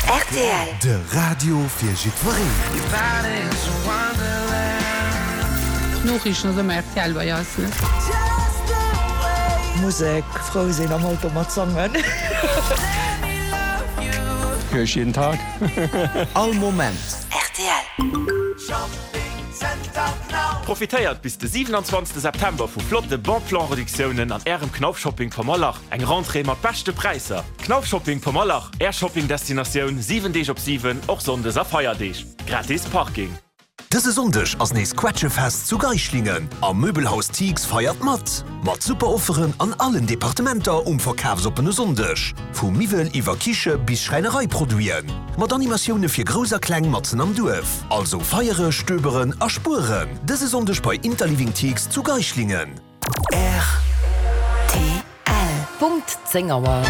Rtl. De Radio fir jiddwereen. D'Noriichten ass ëmmer rtl bei eis, ne? Musek, frou sinn, am Auto mat sangen. Hör ich jeden Tag. All Moment. Rtl. Profitéiert bis de 27 September vu flotte Bon Plan Reduktiounen an Ärem Knauf Shopping Pommerlach. Eng Rentrée mat beschte Präisser! Knauf Shopping Pommerlach, Är Shopping Destinatioun 7 Deeg op 7, och Sonndes a Feierdeeg. Gratis Parking. Dëse Sonndeg ass nees Quetschefest zu Geischlingen a Möbelhaus Thix feiert mat! Mat super Offeren an allen Departementer um verkafsoppene Sonndeg. Vu Miwwel iwwer Kiche bis Schräinereiproduiten. Mat Animatioune fir Grouss a Kleng matzen am Duerf. Also feiere, stöberen a spueren dëse Sonndeg bei Interliving Thix zu Geischlingen. Rtl. Punkt 10 Auer.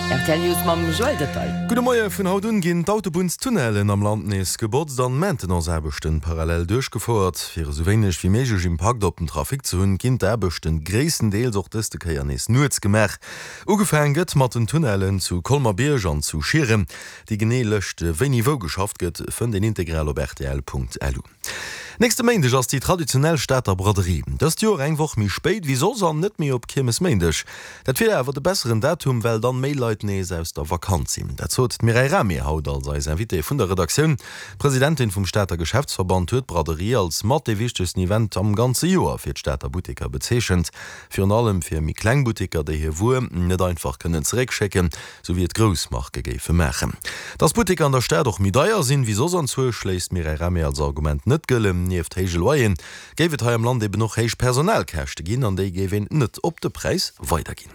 Rtl News mam Joël Detail. Gudde Moie, Vun haut un ginn d'Autobunnstunnellen am Land nees gebotzt an d'Maintenanceaarbechten parallel duerchgefouert. Fir esou wéineg wéi méiglech Impakt op den Trafic ze hunn, ginn d'Aarbechten gréisstendeels och dëste Kéier nees nuets gemaach. Ugefaang gëtt mat den Tunnellen zu Colmer-Bierg an zu Schieren. Déi genee Lëscht wéini wou geschafft gëtt, fënnt een integral op rtl.lu. Nächste Méindeg ass déi traditionell Stater Braderie. Dëst Joer eng Woch méi spéit wéi soss an net méi op Kiermesméindeg. Dat wier awer de besseren Datum, well dann méi Leit nees aus der Vakanz sinn. Dat sot d'Mireille Rahmé haut als eis Invitée vun der Redaktioun. D'Presidentin vum Stater Geschäftsverband huet d'Braderie als mat dee wichtegsten Event am ganze Joer fir d'Stater Butteker bezeechent. Virun allem fir méi kleng Butteker, déi hir Wuer net einfach kënnen zeréckschécken. Sou wéi et grouss Marke géife maachen. Dass Butteker an der Stad och méi deier sinn, wéi soss anzwousch, léisst d'Mireille Rahmé als Argument net gëllen. Nieft héije Loyeren géif et hei am Land eben och héich Personalkäschte ginn an déi géif een net op de Präis weiderginn.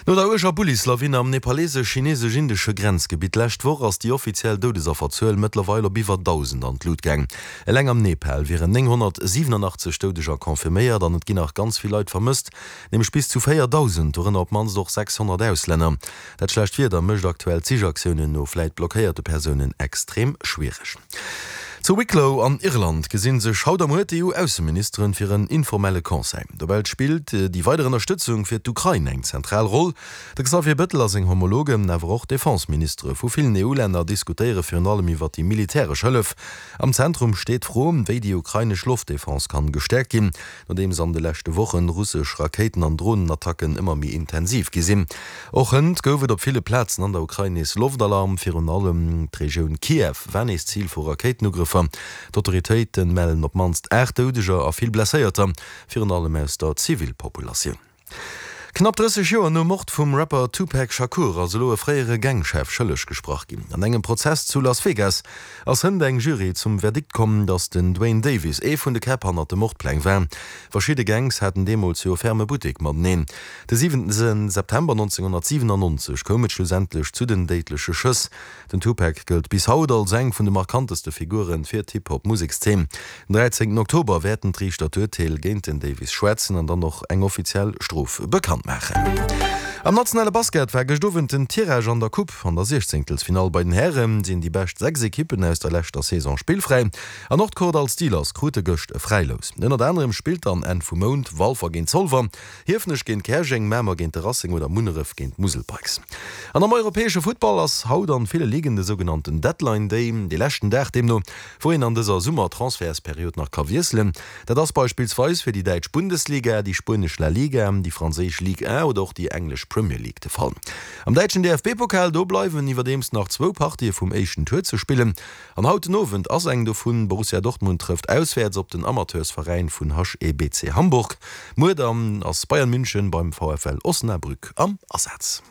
No der uerger Bullislawin am nepalesesch-chinesesch-indesche Grenzgebitt d'lescht Woch ass déi offiziell Doudesafferzuel mëttlerweil op iwwer 1.000 an d'Lut gaang. Eleng am Nepal wieren 987 Doudeger confirméiert an et ginn nach ganz vill Leit vermësst. Nämlech bis zu 4.000, dorënner op d'mannst och 600 Auslänner. Dat schlecht Wieder mécht aktuell d'Sichaktiounen no vläit blockéierte Persounen extrem schwiereg. Zu Wicklow an Irland gesi sech haut a muer d'EU-Ausseministeren fir en informelle Conseil. Dobäi spillt déi weider Ënnerstëtzung fir d'Ukrain eng zentral Roll. De Xavier Bettel a seng Homologen, awer och d'Defense-Ministere vu villen EU-Länner diskutéiere virun allem iwwer déi militäresch Hëllef. Am Zentrum steet d'Fro, wéi déi ukrainesch Loftdefense kann gestäerkt ginn. Nodeems an de leschte Wochen russesch Rakéiten an Dronenattacken ëmmer méi intensiv gi sinn. Och hënt gouf et op ville Plazen an der Ukrain nees Loftalarm. Virun allem d'Regioun Kiew war nees Zil vu Rakéitenugrëffer. D'Autoritéite mellen op d'mannst 8 Doudeger a vill Blesséierter, virun allem aus der Zivilpopulatioun. Knapp 30 Joer nom Mord vum Rapper Tupac Shakur ass elo e fréiere Gangchef schëlleg gesprach ginn. An engem Prozess zu Las Vegas ass hënt eng Jury zum Verdikt komm, datt den Duane Davis ee vun de Käpp hannert de Mordpläng war. Verschidde Gangs haten deemools jo e ferme Buttek mateneen. De 7 September 1997 koum et schlussendlech zu den déidleche Schëss. Den Tupac gëllt bis haut als eng vun de markanteste Figure fir d'Hip-Hop-Musekszeen. Den 13 Oktober wäerten d'Riichter d'Urteel géint den Davis schwätzen an dann och eng offiziell Strof bekannt maachen. Am nationale Basket war gëscht Owend den Tirage an der Coupe. An der Siechzéngtelsfinall bei den Häre sinn déi bescht 6 Ekippen aus der leschter Saison spillfräi an och d'Kordall Steelers krute gëscht e Fräilous. Ënnert anerem spillt dann Enn vum Mount Walfer géint Zolwer. Hiefenech géint Käerjeng, Mamer géint de Racing oder Munneref géint d'Musel Pikes. An am europäesche Futtball ass haut an ville Ligen de sougenannten Deadline Day, dee leschten Dag deemno, wou een an dëser Summer-Transfertsperiod nach ka wiesselen. Dat ass beispillsweis fir déi däitsch Bundesliga, déi spuenesch La Liga, déi franséisch Ligue 1 oder och déi englesch Premier League de Fall. Am däitschen DFB-Pokal, do bleiwen iwwerdeems nach zwou Partië vum éischten Tour ze spillen. An haut den Owend ass eng dovun, Borussia Dortmund trëfft auswäerts op den Amateursveräin vun HEBC Hamburg. Muer dann ass Bayern München beim VfL Osnabrück am Asaz.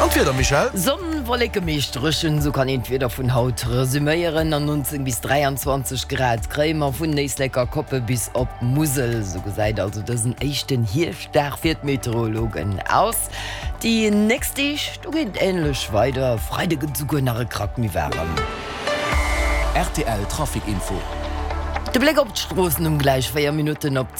An d'Wieder, Michèle? Sonn, Wolleke, meescht dréchen, sou kann een d'Wieder vun haut resüméieren. An 19 bis 23 Grad kréie mer vun Éislek a Koppe bis op d'Musel. Sou gesäit also dësen éischten Hierschtdag fir d'Meteorologen aus. Déi nächst Deeg, do geet et änlech weider, Freide gëtt et esouguer nach e Krack méi waarem. Rtl Trafic Info. De Bléck op d'Stroossen um gläich 4 Minutten op.